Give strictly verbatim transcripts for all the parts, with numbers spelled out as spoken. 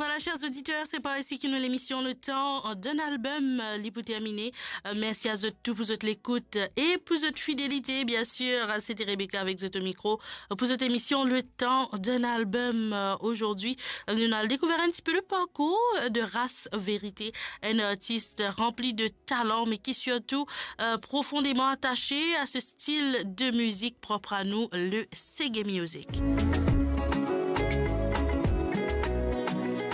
Ala, chers auditeurs, c'est par ici que nous, l'émission Le Temps d'un album, euh, li pou termine. Euh, merci à zot tou pour zot l'écoute et pour zot fidélité, bien sûr. C'était Rebecca avec zot au micro, euh, pour cette émission Le Temps d'un album. Euh, aujourd'hui, euh, nous allons découvrir un petit peu le parcours de Ras Vérité, un artiste rempli de talent, mais qui surtout, euh, profondément attaché à ce style de musique propre à nous, le Seggae Music.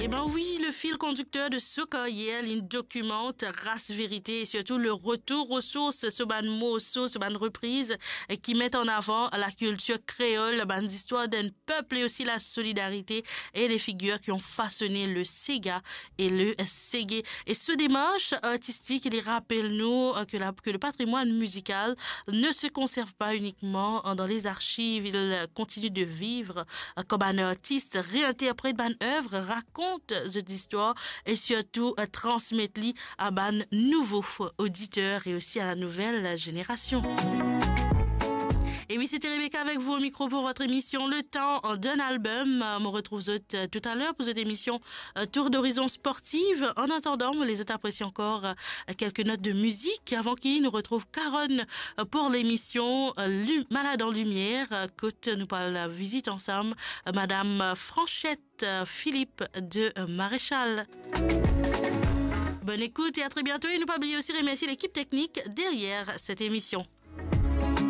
Eh ben oui, le fil conducteur de so karyer, li dokimant Ras Vérité et surtout le retour aux sources, so bann morso, so bann repriz, eh, ki met an avan la kiltir kreol, bann zistwar d'enn pep et aussi la solidarité et les figures qui ont façonné le séga et le seggae. Et so demars artistik, li rapel nou, euh, que la, que le patrimoine musical ne se conserve pas uniquement, euh, dans les archives, il continue de vivre, euh, comme un artiste, réinterprète bann œuvres, raconte zot istwar et surtout, euh, transmet li à bann nouvo f-, auditeur et aussi à la nouvelle génération. Et oui, c'était Rebecca avec vous au micro pour votre émission Le Temps d'un album. Euh, on retrouve zot, euh, tout à l'heure pour cette émission, euh, Tour d'horizon sportive. En attendant, mo les zot apresye ankor, euh, quelques notes de musique avant ki nou retrouv Caron, euh, pour l'émission, euh, Lu-, Malade en Lumière, euh, kot nou pou al vizit ansam, euh, Madame Franchette, euh, Philippe de, euh, Maréchal. Bonne écoute et à très bientôt. Et nou pa bliye aussi remercier l'équipe technique derrière cette émission.